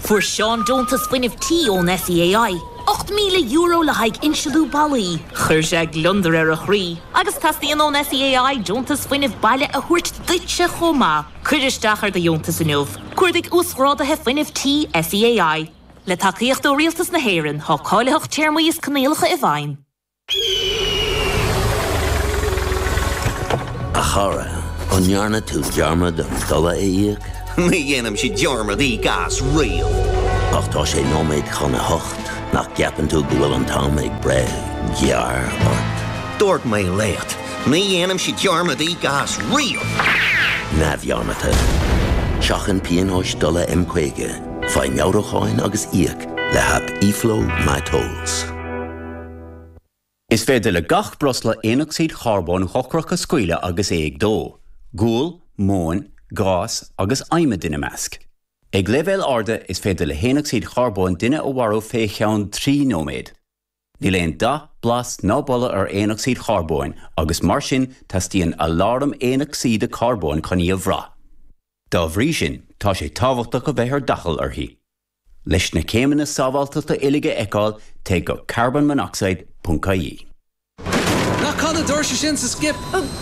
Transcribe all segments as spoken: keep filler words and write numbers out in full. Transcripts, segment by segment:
Fuair Seán deontas fuinnimh tí ón SEAI. ocht míle euro le haghaidh inslú ballaí. Chuir sé gliondar ar a chroí, agus teastaíonn ón SEAI deontas fuinnimh baile a thabhairt duitse chomh maith. Cuir isteach ar do dheontas inniu. Cuardaigh uasghráduithe fuinnimh tí SEAI. Le tacaíocht ó Rialtas na hÉireann tá cáilitheacht téarmaí is coinníollacha i bhfeidhm. A chara, an ndearna tú dearmad an dola a íoc? Ní dhéanaimse dearmad íoc as riamh. Ach tá sé nóiméad chun a hocht, nach gceapann tú go bhfuil an t-am ag breith gearr ort? Dúirt mé leat, ní dhéanaimse dearmad íoc as riamh. Neamhdhearmadta. Seachain pionóis dola M caoga, faigh meabhrúcháin agus íoc le haip eFlow MyTolls. Is féidir le gach breosla aonocsaíd charbóin dhochrach a scaoileadh agus é ag dó, gual, móin, gás agus adhmad ina measc. Ag leibhéil arda is féidir le haonocsaíd charbóin duine a mharú fé cheann trí nóiméad. Níl aon dath, blas ná boladh ar aonocsaíd charbóin agus mar sin teastaíonn aláram aonocsaíde carbóin chun í a bhrath. Dá bhrí sin, tá sé tábhachtach a bheith ar d'fhaichill uirthi. Leis na céimeanna sábháilteachta uilig a fheiceáil, téigh go carbonmonoxide ponc ie. Ná caith na doirse sin sa skip!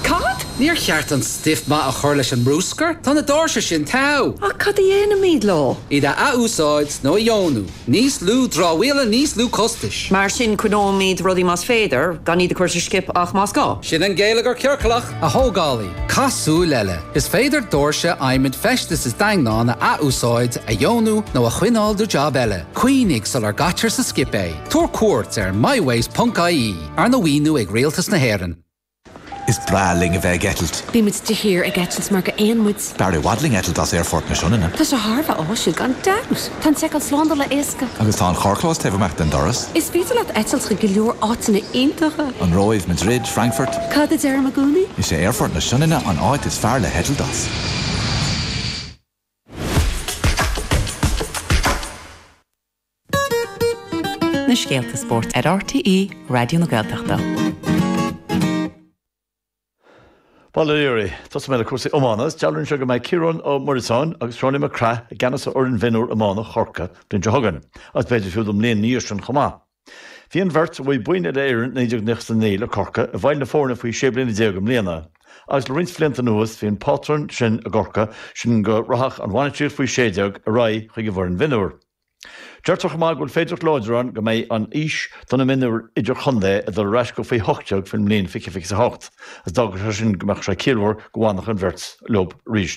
Cad? Níor cheart an stuif maith a chur leis an mbruscar, tá na doirse sin togha! Ach cad a dhéanfaimid leo? Iad a athúsáid nó a dheonú. Níos lú dramhaíola, níos lú costais. Mar sin coinneoimid rudaí más féidir, gan iad a chur sa skip ach más gá. Sin an geilleagar ciorclach, a thógálaí. Caith súil eile. Is féidir doirse, adhmad, feistis is daingneáin a athúsáid, a dheonú nó a choinneáil do jab eile. Cuimhnigh sular gcaitear sa skip é. Tabhair cuairt ar mywaste ponc ie, arna mhaoiniú ag Rialtas na hÉireann. Is breá linn a bheith ag eitilt. Bímid de shíor ag eitilt mar gur éan muid. B'fhearr i bhfad linn eitilt as Aerfort na Sionainne. Tá sé thar a bheith áisiúil gan dabht. Tá an tseiceáil slándála éasca. Agus tá an carrchlós taobh amach den doras. Is féidir leat eitilt chuig go leor áiteanna iontacha. An Róimh, Madrid, Frankfurt. Cad a deirim i gcónaí? Is é Aerfort na Sionainne an áit is fearr le heitilt as. Na scéalta spóirt ar RTÉ Raidió na Gaeltachta. Bail ó Dhia oraibh, tosóidh mé le cúrsaí iomána. Is dealraíonn sé go mbeidh Ciarán Ó Muireasáin agus Seánie Mac Craith i gceannas ar fhoireann mhionúr iomána Chorcaí an bhliain seo chugainn, agus b'fhéidir fiú don mbliain ina dhiaidh sin chomh maith. Bhí an bheirt, a bhuaigh boinn Uile-Éireann naoi déag nócha a naoi le Corcaigh, i bhfeighil na foirne faoi sé bliana déag i mbliana. Agus le roinnt blianta anuas bhí an pátrún sin i gCorcaigh, sin go rachadh an bhainistíocht faoi sé déag ar aghaidh chuig an bhfoireann mhionúr. Deirtear chomh maith go bhfuil féidearthacht láidir ann go mbeidh an aois do na mionúir idirchontae ag dul ar ais go faoi hocht déag faoin mbliain fiche fiche a hocht, agus d'fhágfadh sé sin go mbeadh sé ciallmhar go bhfanfadh an bheirt leo arís.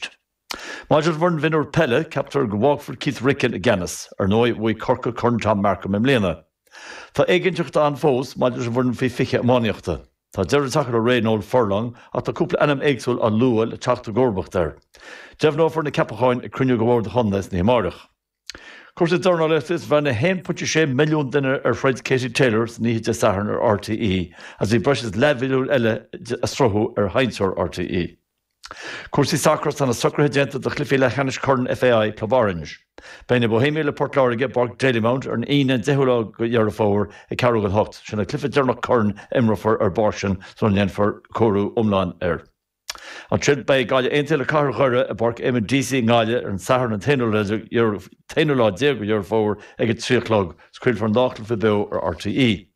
Maidir leis an bhfoireann mhionúr peile, ceaptar go bhfágfar Keith Ricken i gceannas. Ar ndóigh, bhuaigh Corcaigh Corn Tom Markham i mbliana. Tá éiginnteacht ann fós maidir leis an bhfoireann faoi fiche iománaíochta. Tá deireadh tagtha le ré Noel Furlong ach tá cúpla ainm éagsúil á lua le teacht i gcomharbacht air. Deimhneofar na ceapacháin ag cruinniú de bhord an chontae san oíche amárach. Cúrsaí dornálaíochta is bhreathnaigh a haon pointe sé milliún duine ar throid Katie Taylor san oíche Dé Sathairn ar RTÉ agus bhí breis is leathmhilliún eile á sruthú ar sheinnteoir RTÉ. Cúrsaí sacair Tá na socruithe déanta do chluichí leathcheannais Chorn FAI Club Orange. Beidh na Bohemiaigh le Port Láirge i bPáirc Dalymount ar an Aoine an deichiú lá de Dheireadh Fómhair ag ceathrú chun a hocht. Sin an cluiche deireanach coirn a imreofar ar an bpáirc sin sula ndéanfar cóiriú iomlán air. Ansin beidh Gaillimh Aontaithe le Cathair Dhoire i bPáirc Eamonn Deacy i nGaillimh ar an Satharn an t-aonú lá déag de Dheireadh Fómhair ag a trí a chlog. Craolfar an dá chluiche beo ar RTÉ.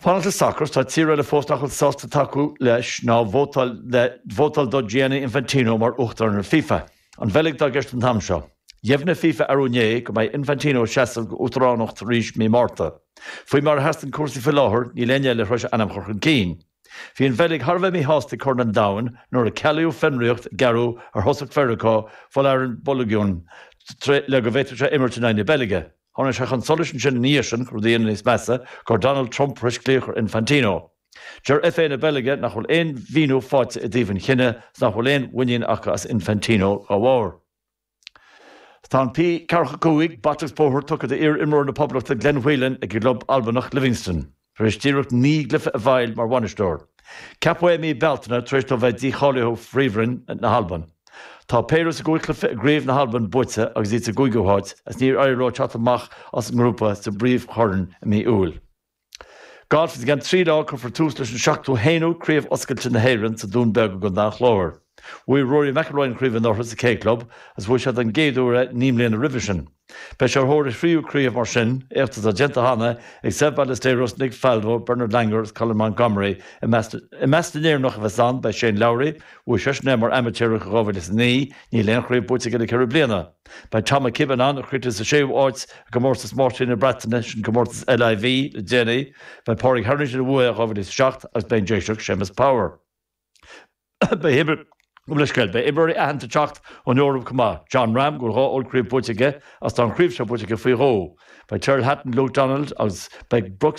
Fanacht le sacar, tá tír eile fós nach bhfuil sásta tacú leis ná vótáil le vótáil do Gianni Infantino mar Uachtarán ar FIFA. An Bheilg atá i gceist an t-am seo. Dheimhnigh FIFA arú inné go mbeidh Infantino ag seasamh go uachtaránacht arís mí Márta. Faoi mar a sheasann cúrsaí faoi láthair, níl éinne eile tar éis a ainm a chur chun cinn. Bhí an Bheilg thar a bheith míshásta ag Corn an Domhain nuair a cealaíodh fionraíocht a gearradh ar thosach Mheiriceá Folarin Balogun le go bhféadfadh sé imirt in aghaidh na Beilge. Tháinig sé chun solais ansin ina dhiaidh sin, rud a dhéanamh níos measa, go raibh Donald Trump tar éis glaoch ar Infantino. Deir FA na Beilge nach bhfuil aon mhíniú faighte i dtaobh an chinnidh is nach bhfuil aon mhuinín acu as Infantino dá bharr. Tá an P ceathracha cúig, bata agus bóthar, tugtha d'iar-imreoir na Poblachta Glenn Whelan ag a gclub Albanach Livingston, tar éis díreach naoi gcluiche a fháil mar bhainisteoir. Ceapadh é i mí Bealtaine tar éis dó bheith dícháilithe ó Phríomhroinn na hAlban. Tá péire as a gcúig chluiche i gCraobh na hAlban buaite agus iad sa gcúigiú háit agus níor éirigh leo teacht amach as an ngrúpa sa bpríomhchorn i mí Iúil. Galf, I gceann trí lá cuirfear tús leis an seachtú haonú Craobh Oscailte na hÉireann sa Dún Beag i gContae an Chláir. Bhuaigh Rory McIlroy an chraobh anuraidh sa K Club agus bhuaigh sé den gcéad uair naoi mbliana roimhe sin. Beidh sé ar thóir a thríú craobh mar sin, éacht atá déanta cheana ag Seve Ballesteros, Nick Faldo, Bernard Langer agus Colin Montgomerie. I measc na nÉireannach a bheas ann beidh Shane Lowry, bhuaigh seisean é mar amaitéarach i dhá mhíle is a naoi, níl aon chraobh buaite aige le ceithre bliana. Beidh Tom McKibbin ann, a chríochnaigh sa séú háit i gcomórtas Máistrí na Breataine, sin comórtas LIV le déanaí. Beidh Pádraig Harrington a bhuaigh i dhá mhíle is a seacht agus beidh an Déiseach Séamus Power. Beidh Beidh imreoirí aitheanta ag teacht ón Eoraip chomh maith, Jon Rahm go bhfuil dhá ollchraobh buaite aige agus tá an chraobh seo buaite aige faoi dhó. Beidh Tyrrell Hatton, Luke Donald agus beidh Brooks